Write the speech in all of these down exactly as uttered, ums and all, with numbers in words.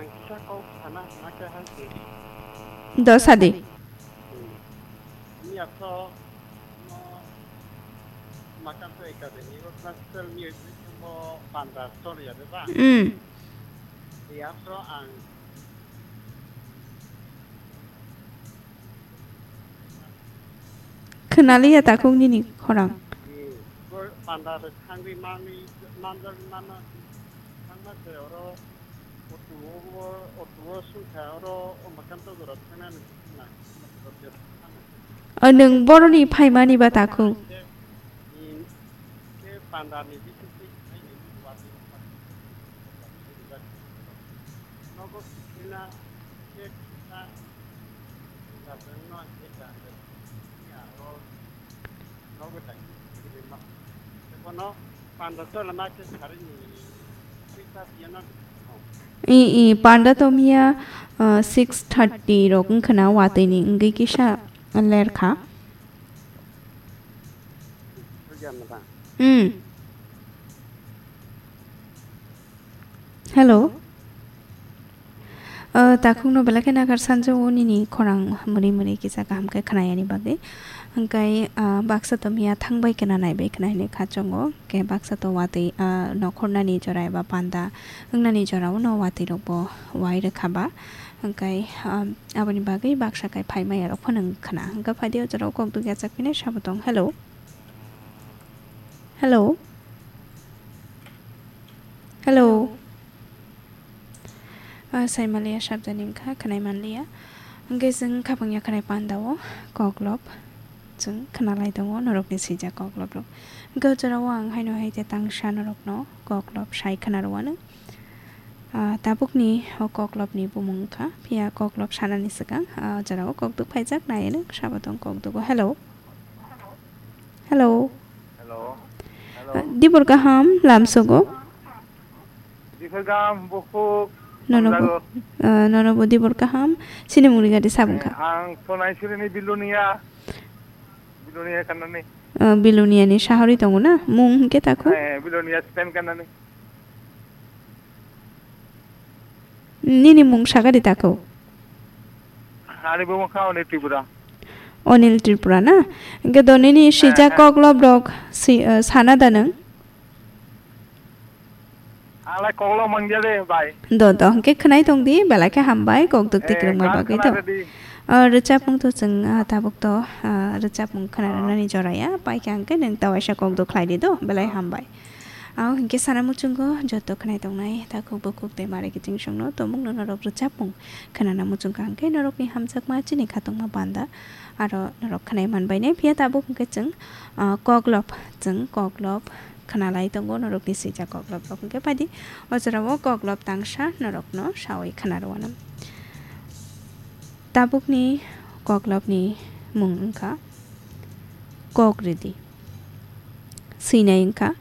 Kisa kok sana hana khe hai se. Do sadi. Hmm. Ni aso no Makanto Academy o classical music bo panda choli ya de ba? Hmm. Ni aso ang Khwnaliya takhuk nini khorang. Ni bo panda de thangwi mani manjak mano thangma se oro. O, nwng boroni phaimani ba takhuk? I, i, panda to miya, uh, six thirty rok wngkha na watwi ni wngwi kisa ler kha. Hmm. Hello. Uh, takhukno belai khe nakhar sanjao nini khorang mwrwi mwrwi kisa kaham khe khnayani bagwi. Hwnkhe, uh, baksa to miya thangbai khna naibai khna hinwi khachongo. Khe baksa to watwi, uh, nokhornani jora eba panda wngnani jorao no watwi rokbo wai rwkha ba. Hwnkhe, um, aboni bagwi baksa kai phaimaya rok phano wng khna. Hwnkhe phaidi o jorao kok dugya chak phine sabo tong. Hello. Hello. Hello. Ah, sai manliya, sabjani wngkha, khwnai manliya. Hwnkhe chwng khapang ya khwnai panda o koklop chwng khwnalai tongo norokni swijak koklop rok. Hwnkhe o jorao ang haino hai khe tangsa norokno koklop sai khwna rwano. Ah, tabukni o koklopni bumung wngkha, phiya koklop sanani swkang, ah, o jorao kokduk phaijak, nai hwnwi sabo tong kokdugo. Hello. Hello. Hello. Ah, dibor kaham lamsogo. Dibor kaham bukhuk. Nono bo, hamjago. Ah, nono bo dibor kaham. Chini mungni gari sabung kha. Eh, ang Sonai Surini Bilonia. Bilonia kanani. Ah, Bilonia ni sahari tongo na? Mung hwnkhe takhuk? Eh, Bilonia stand kanani. Nini mung sakadi takhuk? Ani bumung kha Onil Tripura. Onil Tripura na? Hwnkhe do nini swijak koklop rok si, eh, sana da nwng? Alai koklop mangya de, bai. Do, do, hwnkhe khwnai tong di, belai khe hambai, kokduk tikrwngma bagwi to. Eh, khwna rwdi. O, rwchapmung to chwng, ah, tabuk to, ah, rwchapmung khwna rwnani jora ya, pai khe hwnkhe nwng ta waisa kokduk khlai di do, belai hambai. Ang hwnkhe sana muchungo joto khwnai tongnai takhuk bukhuk tei mare kiching songno tongmungno norok rwchapmung khwnana muchungkha hwnkhe norokni hamjakma chini khatungma panda aro norok khwnai manbainai. Phiya tabuk hwnkhe chwng, ah, koklop, chwng koklop khwnalai tongo norokni swijak koklop rok hwnkhe phaidi o jorao koklop tangsa norokno sawi khwna rwano. Tabukni koklopni mung wngkha Kok Ridi. Swinai wngkha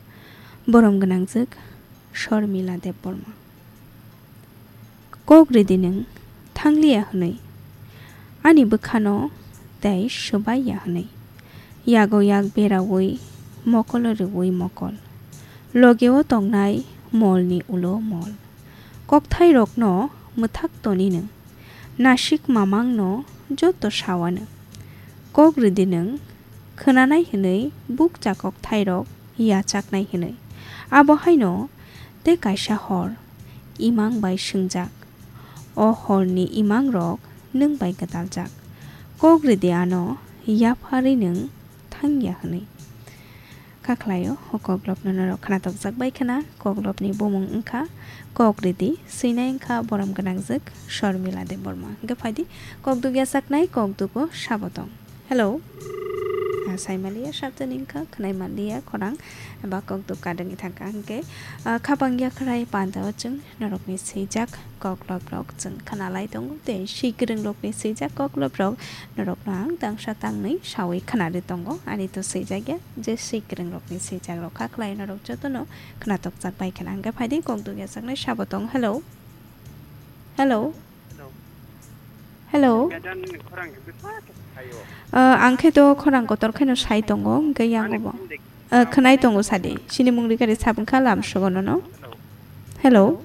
borom gwnangjwk Shormila Debbarma. Kok ridi nwng thangliya hwnwi, ani bwkhano tei swbaiya hwnwi, yago yak beraui mokolo rwui mokol, logeo tongnai molni ulo mol. Kokthairokno mwthak toni nwng, nasik mamangno joto sawano. Kok ridi nwng khwnanai hwnwi bukcha kokthairok yachaknai hwnwi. Abo haino tei kaisa hor imang bai swngjak. O horni imangrok nwng bai gwdaljak. Kok ridi ano yapharwi nwng thangya hwnwi. Kha khlaio, o koklopno norok khwnatokjak bai khna, koklopni bumung wngkha Kok Ridi, swinai wngkha borom gwnangjwk Shormila Debbarma. Hwnkhe phaidi, kok dugya saknai, kok dugo sabo tong. Hello. Ah, sai manliya, sabjani wngkha, khwnai manliya, khorang, ba kok duk kadwngwi thangkha. Hwnkhe, ah, khapang yakhrai panda o chwng norokni swijak kokloprok chwng khwnalai tongo, tei swi kwrwngrokni swijak kokloprok norokno ang tangsa tangwi sawi khwnarwi tongo. Ani to swijakya je swi kwrwngrokni swijakrok kha khlai norok jotono khwnatokjak bai khna. Hwnkhe phaidi kok dugya saknai sabo tong. Hello. Hello. Hello. Hello. Gadan khorang bwsa khe phaio. Ah, ang khe to khorang kotor kheno sai tongo, hwnkhe yango bo. Ani phone de- Ah, khwnai tongo sadi. Chini mung rikari sabung kha lam sugo nono. Hello. Hello.